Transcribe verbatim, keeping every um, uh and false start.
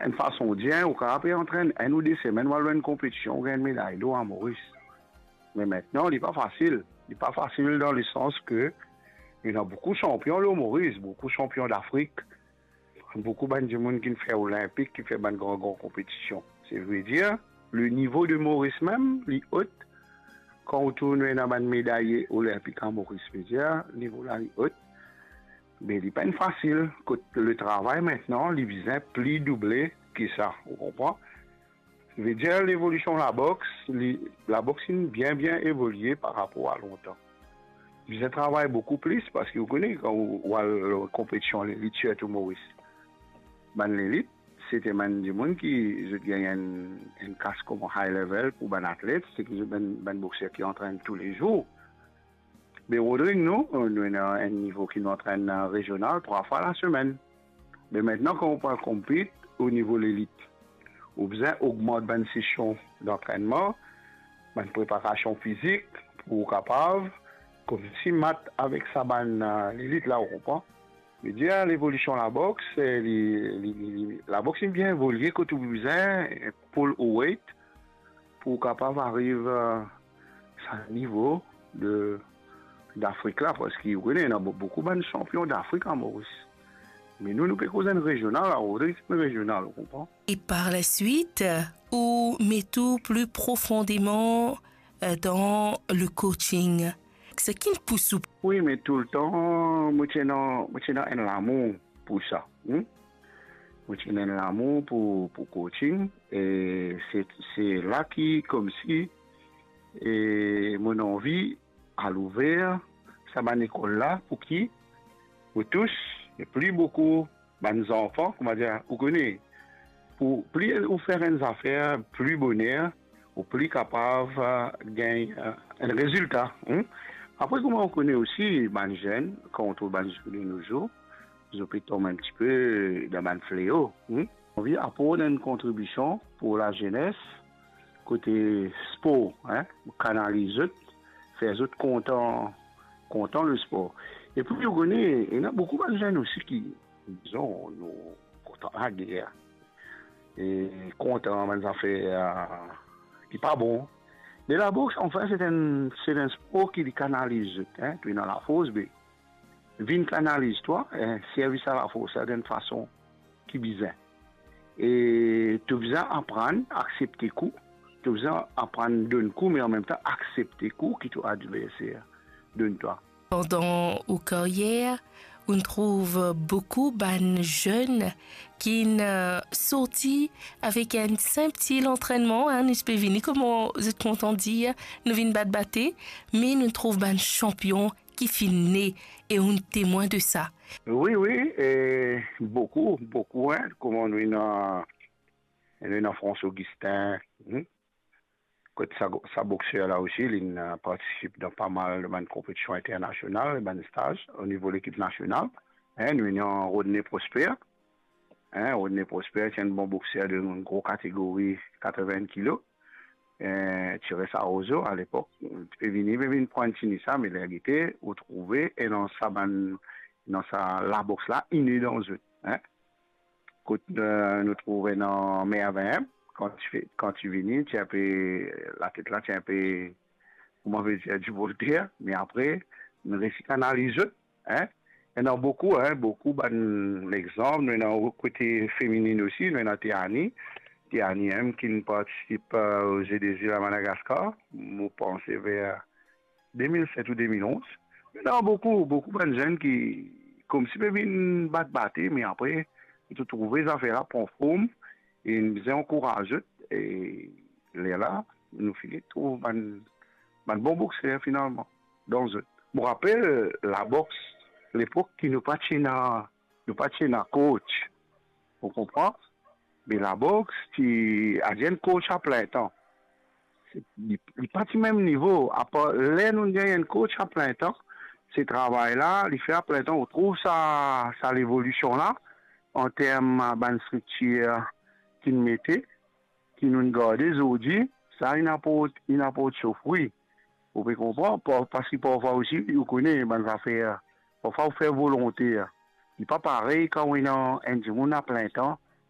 enn fason dir, ou kapav pe antrenn enn ou de semenn, ou al lor enn konpetision, ou gagn enn meday lor a Moris. Me aster, li pa fasil. Li pa fasil dan lesans ke ena boukou sanpion lor Moris, boukou sanpion Dafrik, boukou bann dimoun ki finn fer Olinpik, ki fer bann gran, gran konpetision. Savedir, le nivo de Moris mem, li ot. Kan ou trouv nou ena bann medaye Olinpik a Moris, vedir, nivo la li ot. Me li pa enn fasil, kot le travay aster, li bizin pli double ki sa, ou konpran? Vedir, levolision laboks, li, laboks inn bien, bien evolie par rapor a lontan. Bizin travay boukou plis, parski ou kone, kan ou, ou al lor konpetision lelit, sirtou Moris, bann lelit, se ti bann dimoun ki zot gagn enn, enn kas kouma high level pou bann atlet, se ki zot bann, bann bokser ki antrenn toulezour. Me Rodrig, nou, nou ena enn nivo ki nou antrenn, eh, rezional trwa fwa lasemenn. Me aster, kan ou pou al konpit o nivo lelit, ou bizin ogmant bann sesion dantrennman, bann preparasion fizik, pou ou kapav koumsi mat avek sa bann, eh, lelit la, ou konpran? Vedir, levolision laboks, eh, li, li, li, li, laboks inn bien evolie kot ou bizin, eh, pull ou weight, pou ou kapav ariv, eh, sa nivo de, Dafrik la, parski ou kone, ena bou-, boukou bann sanpion Dafrik a Moris. Me nou, nou pe koz enn rezional, la, ou rezional, rezional, ou konpran? Et par la suite, ou met ou plus profondément, euh, dans le coaching. Ce qui pousse ou. Wi, me toultan, mo ti ena, mo ti ena enn lamour pou sa. Hmm? Mo ti ena enn lamour pou, pou coaching. E se, se la ki, koumsi, e mo anvi al ouver sa bann lekol la, pou ki ou tous pli boukou bann zanfan, koumadir, ou kone, pou pli ou fer enn zafer pli boner, ou pli kapav, eh, gagn, eh, enn rezilta, hmm? Apre, kouma ou kone osi, bann zenn, kan ou trouv bann zenn de nos jours, zot pe tom enn tipe dan bann fleo, hmm? Anvi aport enn kontribision pou lazenes, kote spor, hein, kanaliz zot, fer zot kontan, kontan lespor. Epi, ou kone, ena boukou bann zenn osi ki, dizon, nou kontan lager, e kontan bann zafer, eh, ki pa bon. Me laboks, anfin, se enn, se enn spor ki li kanaliz zot, hein, to ena lafors, be vinn kanaliz twa, eh, servi sa lafors la dan enn fason ki bizin. E to bizin aprann aksepte kou, to bizin aprann donn kou, me anmemtan aksepte kou ki to adverser donn twa. Pandan ou karyer, ou trouv boukou bann zenn ki'nn, euh, sorti avek enn sinp ti lantrennman, hein, nou pe vini, kouma zot kontan dir, nou vinn bat bate, me nou trouv bann sanpion ki finn ne e ou temwin de sa. Wi, wi, e boukou, boukou, hein, kouma nou ena, nou ena François Augustin, hmm? Kot sa, sa bokser la osi, li, euh, partisip dan pa mal de bann konpetision internasional, bann staz o nivo lekip nasional. Hein, nou ena Rodney Prosper. Hein, Rodney Prosper, ti enn bon bokser de gro kategori, katrevin kilo. Eh, Thierry Sarozo, alepok, ti pe vini, pe vinn pran tini sa, me ler gete, ou trouve, e dan sa bann, dan sa laboks la, inn dan zot, hein. Kot, euh, nou trouve ena Mervin, kan ti fe-, kan ti vini, ti enpe, latet la, ti enpe, kouma ve dir, divolter, me apre, nou resi kanaliz zot, hein. Ena boukou, hein, boukou bann lexanp, nou ena kote feminin osi, nou ena Teani, Teani mem ki'nn partisip, euh, o Ze de Zil a Madagaskar, mo panse ver de mil set ou de mil onz. Ena boukou, boukou bann zenn ki koumsi pe vinn bat bate, me apre, zot trouve zafer la pran form, e nou bizin ankouraz zot, e lerla, nou fini trouv bann, bann bon bokser finalman, dan zot. Mo rapel, laboks, lepok ki nou pa ti ena, nou pa ti ena coach, ou konpran? Me laboks, ti, adir enn coach a plin tan. Se, li, li pa ti mem nivo. Apar ler nou gagn enn coach a plin tan, se travay la, li fer a plin tan, ou trouv sa, sa levolision la, an term bann striktir ki'nn mete, ki nou'nn garde zordi, sa inn aport, inn aport so fri. Ou pe konpran? Pa-, parski parfwa osi, ou kone bann zafer, parfwa ou fer volonte, li pa parey kan ou ena enn dimoun a plin tan,